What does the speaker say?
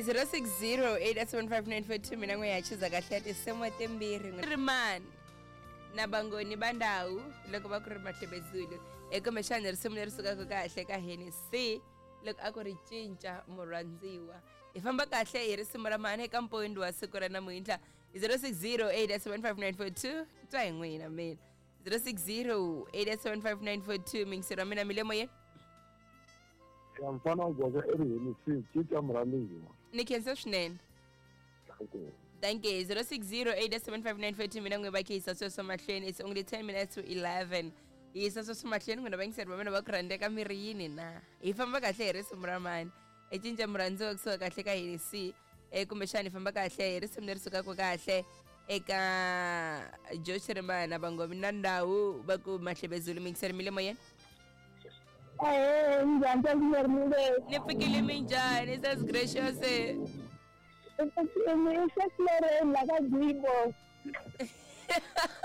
06087594 mina n'we ya chiza kahle ya tinsimu timbirhi ri mani na vangoni va ndhawu loko va ku ri mahlebezulu e kumbexana risimu leri sukaka kahle ka Hennessy loko a ku ri cinca murhandziwa hi famba kahle hi risimu ra mani eka mpondi wa siku ra namuntlha 06087594 twa hi n'wina mina 06087594 mingisero wa mina mi le moyeni. Ya mfana wa goza i ri Hennessy cinca murhandziwa. Ni khensa swinene. Thank you. 06087594 mina n'we va khe yisa sweswo mahlweni. It's only 10 minutes to 11. Hi yisa sweswo mahlweni n'wina vayingiseri va mina va ku rhandzeka mi ri yini na hi famba kahle hi risimu ra mani hi cinca murhandziwa kusuka kahle ka Hennessy e kumbexana hi famba kahle hi risimu leri sukaka kahle eka Josh Rimana vangomi na ndhawu va ku mahlebezulu mingiseri mi le moyeni. Ahee, njhani Sasmile? Ni pfukile, minjhani Sas Gracious? I Seslereni la ka Gibo.